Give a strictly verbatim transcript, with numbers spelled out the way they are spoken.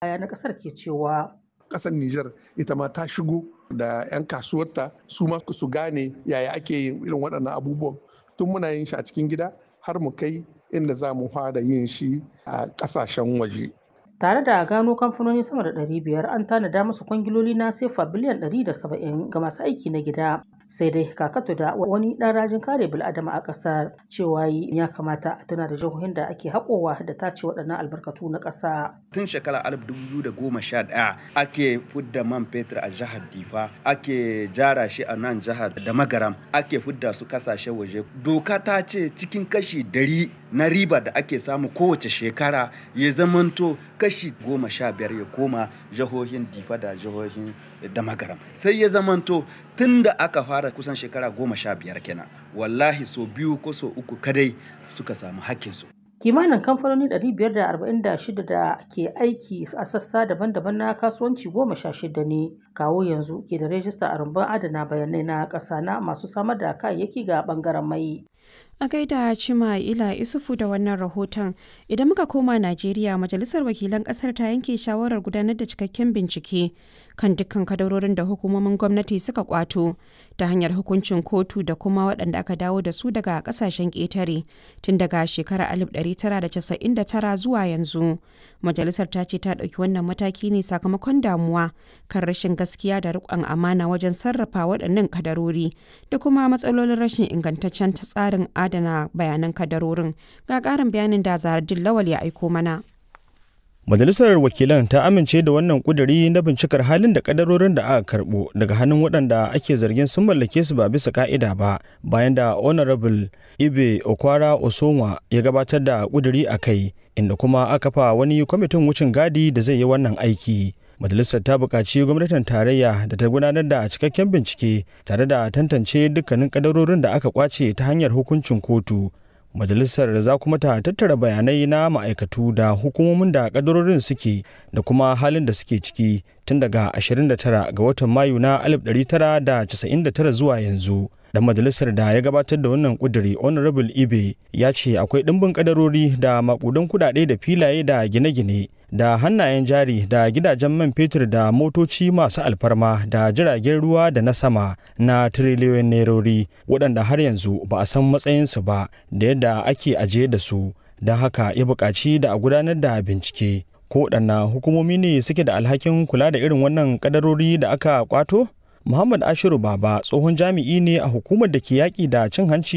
Na ƙasar ke cewa. Ƙasar Nijar ita ma ta shigo da 'yan kasuwarta, su ma su gane yaya ake yin irin waɗannan abubuwan, tun muna yin shi a cikin gida har mu kai inda za mu fara yin shi a ƙasashen waje. Tare da gano kamfanoni sama da ɗari biyar, an tanada musu kwangiloli na sefa biliyan ɗari da saba'in ga masu aiki na gida. Sai dai Kakato da wani ɗan rajin kare bil'adama a ƙasar cewa ya kamata a tuna da jihohin da ake haƙowa da tace waɗannan albarkatu na ƙasa. Tun shekara dubu biyu da goma sha ɗaya ake fudda man fetur a jihar Difa, ake jara shi a nan jihar da Magaram, ake fudda su kasashen waje. Doka ta ce cikin kashi dari na riba da ake samu kowace shekara, ya zamanto kashi goma sha biyar ya koma jihohin Difa da jihohin da Magaram. Sai ya zamanto tun da aka fara kusan shekara goma sha biyar kenan, wallahi so biyu ko so uku kadai suka samu hakkinsu. Kimanin kamfanoni ɗari biyar da arba'in da shida da ke aiki a sassa daban-daban na kasuwanci goma sha shida ne kawo yanzu ke da rajista a rumbun adana bayanai na ƙasa na masu samar da kayayyaki ga ɓangaren mai. A gaida Cima Ila Isufu da wannan rahoton. Idan muka koma Najeriya, Majalisar Wakilan Kasar ta yanke shawarar gudanar da cikakken bincike kan dukkan kadarorin da hukumomin gwamnati suka kwato ta hanyar hukuncin kotu da kuma waɗanda aka dawo da su daga ƙasashen ƙetare tun daga shekarar alif ɗari tara da casa'in da tara zuwa yanzu. Majalisar ta ce ta ɗauki wannan mataki ne sakamakon damuwa kan rashin gaskiya da riƙon amana wajen sarrafa waɗannan kadarori da kuma matsalolin rashin ingantaccen tsarin adana bayanan kadarorin. Ga ƙarin bayanin da Zahardin Lawal ya aiko mana. Majalisar Wakilan ta amince da wannan kuduri na bincikar halin da kadarorin da aka karbo daga hannun waɗanda ake zargin sun mallake su ba bisa ka'ida ba, bayan da Honorable Ibe Okwara Osonwa ya gabatar da kuduri a kai, inda kuma aka fa wani kwamitin wucin gadi da zai yi wannan aiki. Majalisar ta buƙaci gwamnatin tarayya da ta gudanar da cikakken bincike tare da tantance dukkanin kadarorin da aka kwace ta hanyar hukuncin kotu. Majalisar za kuma ta tattara bayanai na ma'aikatu da hukumomin da kadarorin suke da kuma halin da suke ciki tun daga ashirin da tara ga watan Mayu na alif ɗari tara da casa'in da tara zuwa yanzu. Dan majalisar da ya gabatar da wannan kuduri, Honorable Ibe, ya ce akwai ɗimbin kadarori da makudan kudade da filaye da gine-gine da hannayen jari da gidajen man fetur da motoci masu alfarma da jiragen ruwa da na sama na tiriliyoyin nerori waɗanda har yanzu ba a san matsayinsu ba da yadda ake ajiye da su. Don haka ya buƙaci da a gudanar da bincike. Ko waɗanna hukumomi ne suke da alhakin kula da irin wannan kadarori da aka kwato? Muhammad Ashiru Baba tsohon jami'i ne a hukumar da ke yaƙi da cin hanci.